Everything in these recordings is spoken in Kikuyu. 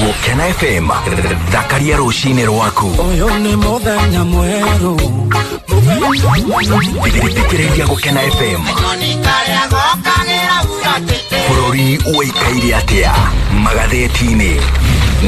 Gũkena FM, thakaria rũcinĩ rwaku. Ũyũ nĩ mũthenya mwerũ. Thikĩrĩria Gũkena FM. Bũrũri ũikaire atĩa magathĩti-inĩ?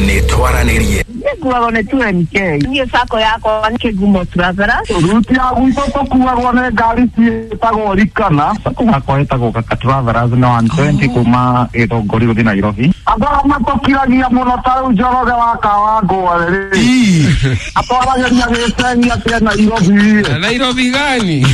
Nĩ twaranĩrie. Nĩkuagwo nĩ 2NK. Niĩ sacco yakwa nĩ Kĩgumo Travelers. Ruti ya gwitũ tũkuagwo nĩ ngari ciĩtagwo Rikana. Sacco yakwa ĩtagwo Kaka Travelers na 120 kuma Gĩthũngũri gũthiĩ Nairobi. Andũ arĩa matũkiragia mũno ta rĩu Njoroge wa Kawangware rĩ, atwaragĩria gĩcegi atĩ Nairobi. Nairobi gani?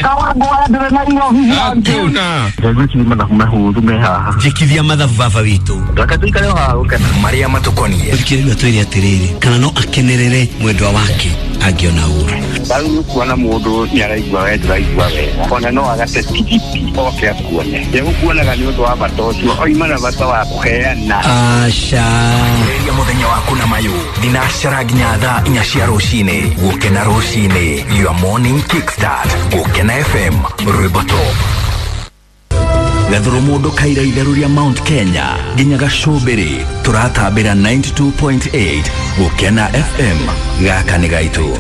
Kawangware ndĩrĩ Nairobi. Hakuna. Ngwĩciria mathabu mehũthũ me haha. Njĩkithia mathabu baba witũ. Reke tũikare o haha gũkena. Marĩa matũkoniĩ. Thikĩrĩria twĩre atĩrĩrĩ, kana no akenerere mwendwa wake angĩona ũru. Rĩu nĩ kuona mũndũ nĩ araigua we ndũraigua wega, ona no agate tigiti oke akuone. Ndegũkuonaga nĩ ũndũ wa bata ũcio, oima na bata wa kũheana. Aca. Ambĩrĩria mũthenya waku na mayũ thinacara nginya thaa 4 cia rũcinĩ. Gũkena rũcinĩ, your morning kickstart. Gũkena FM, rwĩmbo top. Gathuru mũndũ kaira itherũ rĩa Mount Kenya nginya gacũmbĩrĩ, tũratambĩra 92.8 Gũkena FM. Gaka nĩ gaitũ.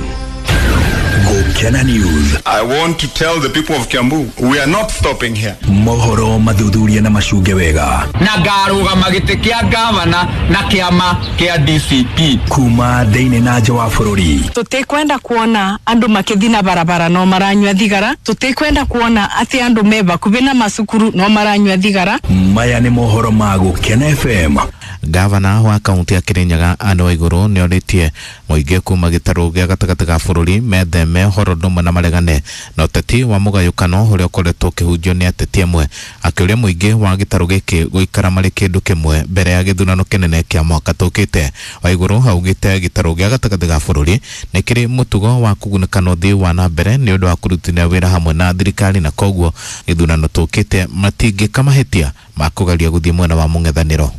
Gũkena News. I want to tell the people of Kiambu, we are not stopping here. Mohoro mathuthuria na macunge wega. Na ngarũgama gĩtĩ kĩa gavana na kĩama kĩa DCP. Kuma thĩinĩ na nja wa bũrũri. Tũtikwenda kuona andũ makĩthi na barabara no maranyua thigara. Tũtikwenda kuona atĩ andũ me bakubi na macukuru no maranyua thigara. Maya nĩ mohoro ma Gũkena FM. Gavana wa kaunti ya Kirinyaga Anne Waiguru nĩ orĩtie mũingĩ kuma gĩtarũ gĩa gatagatĩ ga bũrũri metheme ũhoro ndũmwe na maregane na ũteti wa mũgayũkano ũrĩa ũkoretwo ũkĩhunjio nĩ ateti amwe, akĩũria mũingĩ wa gĩtarũ gĩkĩ gũikara marĩ kĩndũ kĩmwe mbere ya gĩthurano kĩnene kĩa mwaka tũkĩte. Waiguru augĩte gĩtarũ gĩa gatagatĩ ga bũrũri nĩ kĩrĩ mũtugo wa kũgunĩkana ũthii wa na mbere nĩ ũndũ wa kũrutithania wĩra hamwe na thirikari, na koguo gĩthurano tũkĩte matingĩka mahĩtia ma kũgeria gũthiĩ mwena wa mũng'ethanĩro.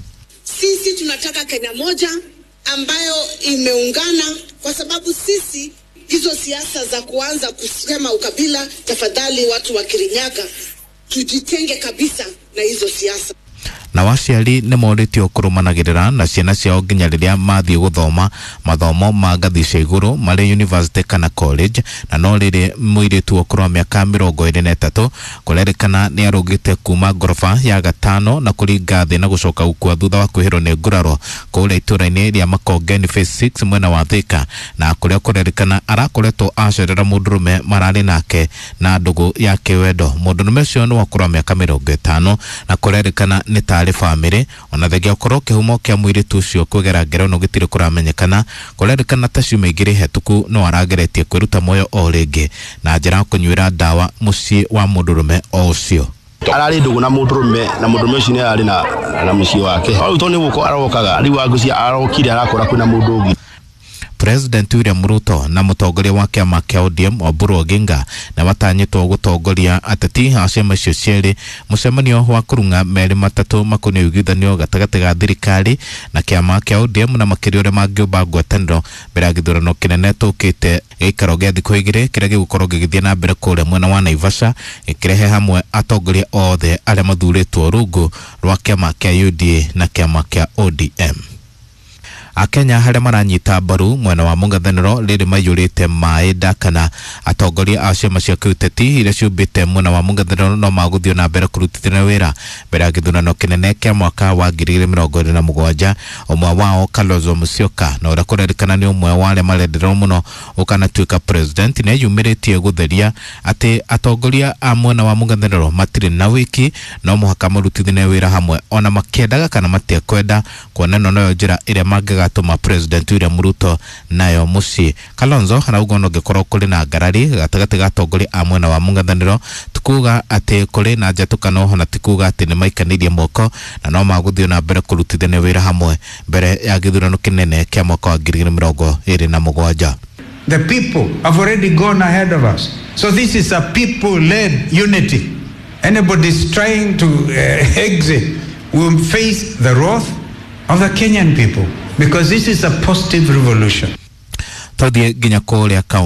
Sisi tunataka Kenya moja ambayo imeungana, kwa sababu sisi hizo siasa za kuanza kusema ukabila, tafadhali watu wa Kirinyaga tujitenge kabisa na hizo siasa. Na waciari nĩ morĩtio kũrũmanagĩrĩra na ciana ciao nginya rĩrĩa mathiĩ gũthoma mathomo ma ngathi cia igũrũ marĩ university kana college. Na no rĩrĩ mũirĩtu ũkũrũ wa mĩaka 23 kũrerĩkana nĩ arũgĩte kuma ngoroba ya gatano na kũringa thĩ na gũcoka gũkua thutha wa kwĩhĩrwo nĩ nguraro kũrĩa itũũra-inĩ rĩa Makongeni Phase 6 mwena wa Thika, na kũrĩa kũrerĩkana arakoretwo acerera mũndũrũme mararĩ nake na ndũgũ ya kĩwendo. Mũndũrũme ũcio nĩ wa ũkũrũ wa mĩaka 50 na kũrerĩkana nĩ tarĩ famĩlĩ. Ona thengia ũkorwo kĩhumo kĩa mũirĩtu ũcio kwĩgera ngero no gĩtirĩ kũramenyekana, kũrerĩkana ta ciumia igĩrĩ hetũku no arageretie kwĩruta muoyo o rĩngĩ na njĩra ya kũnyuĩra ndawa mũciĩ wa mũndũrũme o ũcio. Ararĩ ndũgũ na mũndũrũme, na mũndũrũme ũcio nĩ ararĩ na mũciĩ wake. Rĩu tondũ nĩ gũka arokaga, rĩu angũcia arokire arakora kwĩna mũndũ ũngĩ. President William Ruto na mũtongoria wa kĩama kĩa ODM Oburu Oginga na matanyĩtwo gũtongoria ateti a ciama icio cierĩ mũcemanio wa kũrung'a merĩ matatũ makoniĩ ũiguithanio gatagatĩ ga thirikari na kĩama kĩa ODM na makĩria ũrĩa mangĩũmba ngwatanĩro mbere ya gĩthurano kĩnene tũkĩte gĩikaro gĩa thikũ igĩrĩ kĩrĩa gĩgũkorwo gĩgĩthiĩ na mbere kũrĩa mwena wa Naivasha, gĩkĩrehe hamwe atongoria othe arĩa mathurĩtwo rungu rwa kĩama kĩa UDA na kĩama kĩa ODM. Akenya harĩa maranyita mbaru mwena wa mũng'ethanĩro rĩrĩ maiyũrĩte maĩ nda kana atongoria a ciama cia kĩũteti iria ciũmbĩte mwena wa mũng'ethanĩro no magũthiĩ na mbere kũrutithania wĩra mbere ya gĩthurano kĩnene kĩa mwaka wa 2027. Ũmwe wao Kalonzo Musyoka na ũrĩa kũrerĩkana nĩ ũmwe wa arĩa marendererwo mũno ũkanatuĩka president nĩ eyumĩrĩtie gũtheria atĩ atongoria a mwena wa mũng'ethanĩro matirĩ na wĩki, no mũhaka marutithanie wĩra hamwe ona makĩendaga kana matekwenda, kuona ĩno noyo njĩra ĩrĩa mangĩga tuma President William Ruto nayo mũciĩ. Kalonzo arauga ona ũngĩkorwo kũrĩ na ngarari gatagatĩ ga atongoria a mwena wa mũng'ethanĩro, tikuga atĩ kũrĩ na njatũkano na tikuga atĩ nĩ maikanĩirie moko na no magũthiĩ na mbere kũrutithania wĩra hamwe mbere ya gĩthurano kĩnene kĩa mwaka wa 2027. The people have already gone ahead of us. So this is a people-led unity. Anybody trying to exit will face the wrath of the Kenyan people, because this is a positive revolution. Tũthiĩ nginya kũrĩa kaunti